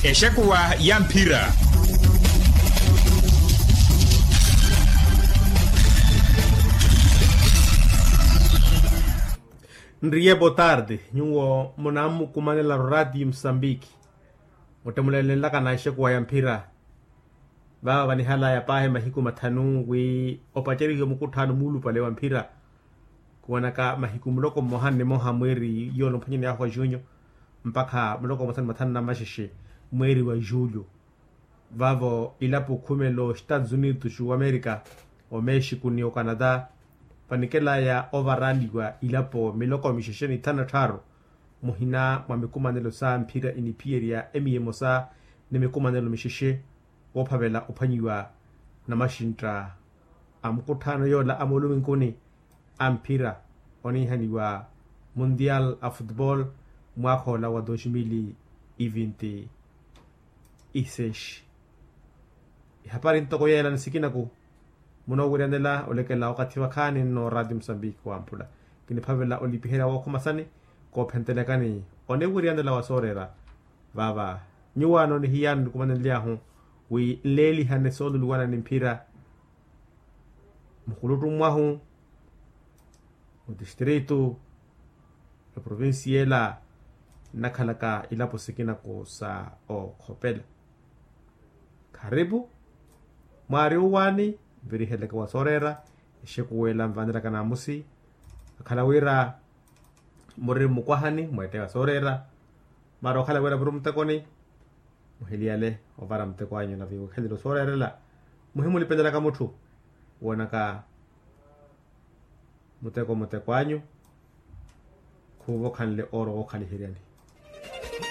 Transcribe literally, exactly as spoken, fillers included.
Exekuwa ya mphira. Nriye botarde nyuwo munammukumanela rorati musambiki. Muttemulelenlaka na exekuwa ya mphira. Vaava vanihalaya paahi mahiku mathanu wi opacerihiwe mukutthaano muulupale wa mphira. Khuwanaka mahiku muloko mmoha ni mmoha mweeri yoona omphwanyani ahu a junyo mpakha muloko mmosa ni mathanu na maxexe mweeri wa julyo. Vaavo ilapo khumelo estados unidos wa amerika, omexico ni ocanada vanikelaya ovaraliwa ilapo miloko mixexe ni thanu na tthaaru muhina mwa mikumanelo sa mphira iniphiyerya emiya emosa ni mikumanelo mixexe woophavela ophwanyiwa namaxintta a mukutthaano yoola a mooluminkuni a mphira oniihaniwa mundial a futebol mwaakha ola wa dos mil e vinti e seis. Ihapari ntoko yeela ni sikinaku munowiryanela olekela wakathi wakhaani nno rati musambiki wamphula kiniphavela olipiherya wookhomasani koophentelekani oniwiryanela wa sooreera. Vaava nyuwaano ni hiyaano nikumanenly'ahu wi nleelihane sooluluwana ni mphira mukuluttu mwahu mutistritu eprovincia ela nnakhalaka ilapo sikinaku sa okhopela. Kharipu mwaari uwaani nviriheleke wa sooreera exekuwa ela nvanelaka naamusi akhala wira muri mmukwahani mweetteya sooreera mara okhala wira muri muttekoni muhiliyale ovara muteko anyu na viiwekhelelo sooreerela muhimulipelelaka mutthu woonaka muteko muteko anyu khuuva okhanle ooro wookhaliheryani.